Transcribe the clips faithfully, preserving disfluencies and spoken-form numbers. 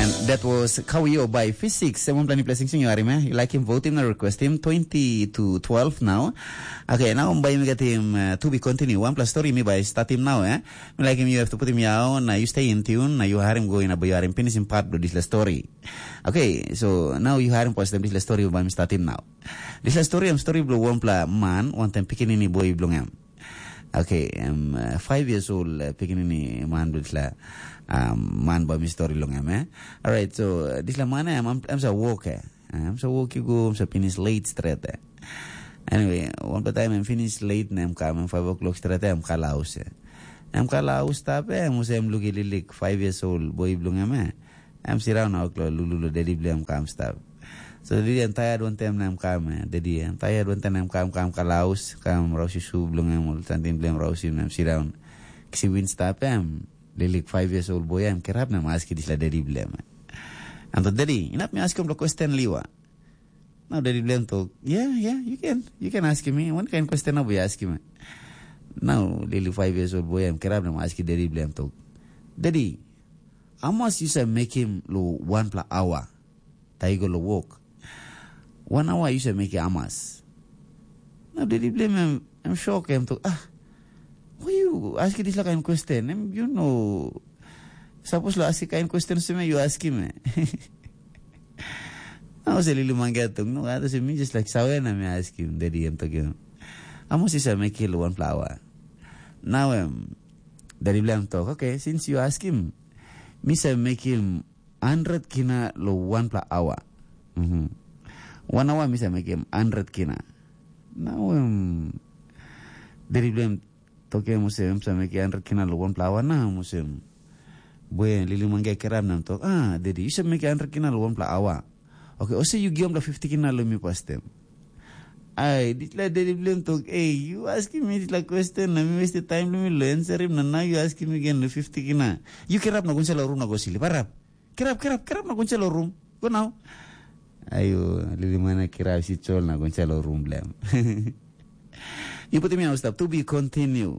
And that was Kawio by Physics. Em wanpela nipela singsing yu harim, eh? Yu laikim, votim na requestim, twenty to twelve now. Okay, nau bai mi getim uh, to be continue. Wanpela story mi bai statim nau, eh? Mi laikim yu have to putim yau na yu stay in tune na yu harim go ina bai yu harim finishing part bilong dispela story. Okay, so nau yu harim postem dispela story bai mi statim nau. Dispela story em story bilong wanpela man wantaim pikinini boi bilong em. Okay, em uh, five years old uh, pikinini man bilong dispela um, man bai mi story long em, eh? Alright, so uh, dispela man em, em, em sa work, eh? Em sa work i go, em sa finish late stret, eh? Anyway, wanpela taim em finish late na em kam, em five o'clock stret, eh, em kalaus, eh? Em kalaus stap, eh? Em usa em luk i lilik five years old boi bilong em, eh? Em siraun na oklo lulu lo dedi bilong em kam stap. So dedi em tired wantaim na em kam, eh? Dedi em tired wantaim na em kam, kam kalaus, kam rausi su bilong em, ol santing bilong em rausi na em siraun. Kisi win stap em, lilik five years old boy em kerap na em aski dispela dedi bilong em. Anto dedi, inap mi askim lo question liwa. Now dedi bilong em tok, yeah, yeah, you can, you can ask me. One kind question na boy ask me. Now lili five years old boy em kerap na em aski dedi bilong em tok, dedi, how much you say make him lo one pla hour? Taigo lo work. One hour you say make him how much? Now dedi bilong em, em shock em tok, ah, why you ask this kind question? Em, you know, Sapos lo aski kain question seme yu askim, eh? Nau se lili manggia tung no kata se mi just like sawe na mi askim dedi em tokim. Amo sisa mekil one flower. Now em dedi blem tok, okay, since you askim, mi sa mekil hundred kina lo one pla hour. Mhm. One hour mi sa mekim hundred kina. Now em dedi blem toke musem sa meki hundred kina lo one pla hour na musem. Bue lili mangge kerap nam tok, ah, dedi, you sa meki hundred kina lo one pla hour. Okay, ose you giom la fifty kina lo mi pastem. Ai, ditla dedi blem tok, hey, you asking me ditla question na mi waste time lo mi lo answer him na now you asking me again lo fifty kina. You kerap na gunsa lo room na go silip, arap. Kerap, kerap, kerap na gunsa lo room. Go now. Ayo, lili mana kerap si chol na gunsa lo room blem. Yu putim mi stap to be continue.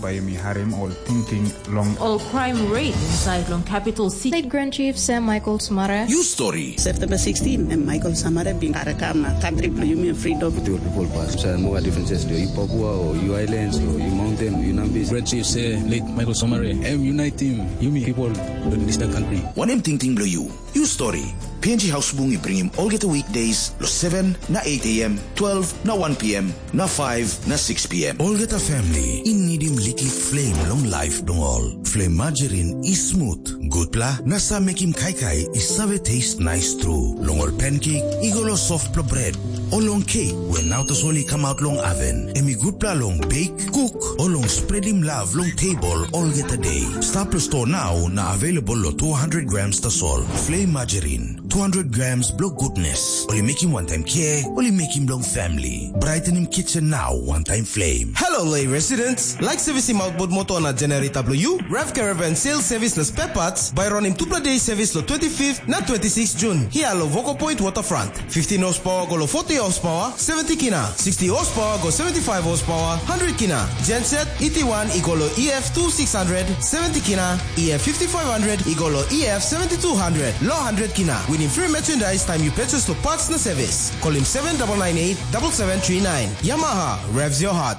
Bai yumi harim ol tingting long ol crime rate inside long capital city. State Grand Chief Sam Michael Smara. You story. September sixteen, em Michael Samara bin karakam na country bilong yumi freedom. With your people pass. Sa no differences do you Papua or you islands or you mountain or you Nambis. Grand Chief say late Michael Samara. Em unite him. Yumi people don't miss the country. One em tingting bilong you. You story. P N G House Bung i bringim olgeta weekdays lo seven na eight a m, twelve na one p m, na five na six p m. Olgeta family i nidim liklik flame long life dong ol. Flame margarine i smooth, gutpela na sa mekim kaikai i save taste nice tru. Long ol pancake i go lo soft pla bread, o long cake we nau tasol i come out long oven. Em i gutpela long bake, cook, o long spreadim love long table olgeta day. Stap lo store now na available lo two hundred grams tasol. Flame margarine. Two hundred grams bilong goodness. Ol i mekim wantaim care, ol i mekim bilong family. Brightening kitchen now, one time flame. Hello, Lay residents. Like servicing outboard motor na generator bilong you? Rev Caravan sales service na spare parts by running two day service lo twenty-fifth na twenty-sixth June. Here lo Voco Point Waterfront. Fifteen horsepower go lo forty horsepower, seventy kina. Sixty horsepower go seventy-five horsepower, hundred kina. Genset, E T one i go lo E F two six hundred, seventy kina. E F fifty-five hundred i go lo E F seventy-two hundred, lo hundred kina. Winning free merchandise time you purchase lo parts na service. Call him seven double nine eight double seven three nine. Yamaha, revs your heart.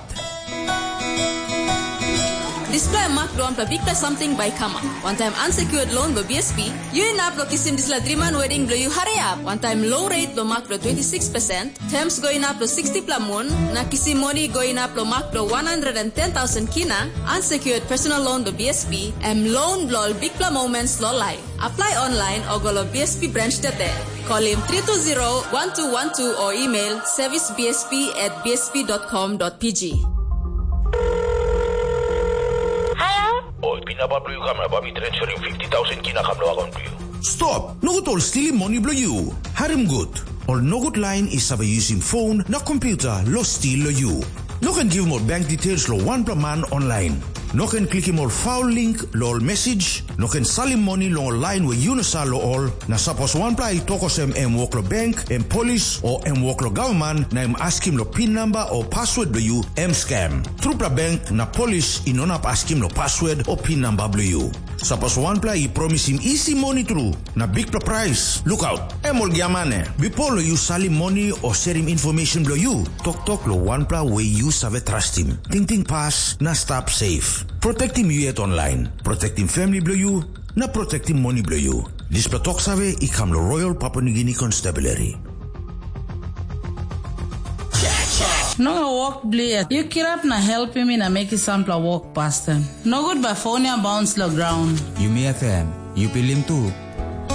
Dispela mak bilong wanpela bikpela samting bai i kamap. Wantaim unsecured loan bilong B S P, yu inap long kisim dispela driman wedding bilong yu hariap. Wantaim low rate bilong mak bilong twenty-six percent, terms go inap long sixty pla mun, na kisim moni go inap long mak bilong one hundred and ten thousand kina, unsecured personal loan bilong B S P, em loan bilong ol bikpela moments long laip. Apply online o go long B S P branch tete. Call him three two zero one two one two o email service B S P at B S P dot com dot P G. Hello? Oi, pinapa bilong yu kam na bai mi transferim fifty thousand kina kam long account bilong yu. Stop! Nogut ol stilim moni bilong yu. Harim gut. Ol nogut lain i save yusim phone na computer lo stil lo yu. No ken givim ol bank details lo wanpela man online. No ken klikim ol foul link lo ol message. No ken salim moni long ol lain we yu no sa lo ol. Na sapos wanpela i tok olsem em wok lo bank, em polis, o em wok lo gavman, na em askim lo pin namba o password bilong yu, em scam. Trupela bank na polis i no inap askim lo password o pin namba bilong yu. Sapos wanpela i promisim isi moni tru na bikpela prais, lukaut, em ol giamane. Bipo long yu salim moni o serim information bilong yu, toktok long wanpela we yu save trastim. Tingting pas na stap safe. Protektim yu yet online. Protektim family bilong yu na protektim moni bilong yu. Dispela tok save i kam long Royal Papua Nugini Constabulary. Nonga wok blia, yu kirap na helpim mi na mekim sampela wok pasten. Nogut bai fon ya bauns long graun. Yumi F M, yu pilim tu.